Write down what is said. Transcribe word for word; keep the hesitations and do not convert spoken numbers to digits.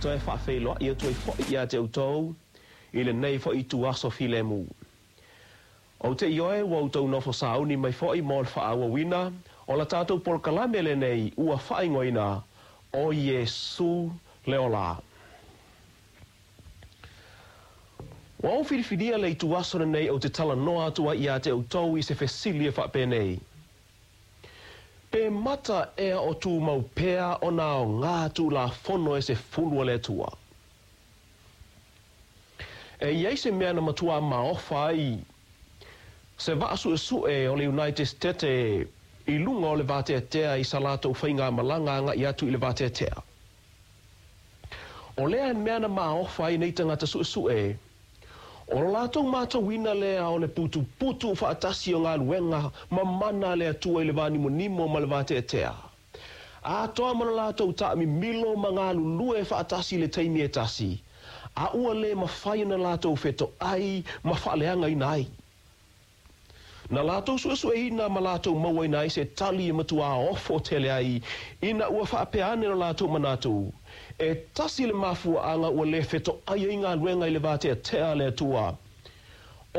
Toe faafeiloai atu ai foi ia te outou i lenei foi ituaso filemu. Ou te ioe ua outou nofo sauni mai foi mo le faaauauina o la tatou polokalame lenei ua faaigoaina o Iesu le Ola. Ua ou filifilia le ituaso lenei ou te talanoa atu ai ia te outou i se fesili e faapenei. Pe mata ea o tumau pea ona aoga Tulafono e sefulu a le Atua? E i ai se mea na matuā maofa ai se vaa suesue o le United State i luga o le vateatea i sa latou faigamalaga agai atu i le vateatea. O lea mea na maofa ai nei tagata suesue, o lo latou matauina lea o le putuputu faatasi o galuega ma mana a le Atua i le vanimonimo ma le vateatea, atoa ma lo latou taamimilo ma galulue faatasi i le taimi e tasi, a ua le mafai ona latou fetoai ma faaleagaina ai. Na latou suesueina ma latou mauaina ai se tali e matuā ofo tele ai, ina ua faapea ane lo latou manatu, e tasi le mafuaaga ua le fetoai ai galuega i le vateatea a le Atua,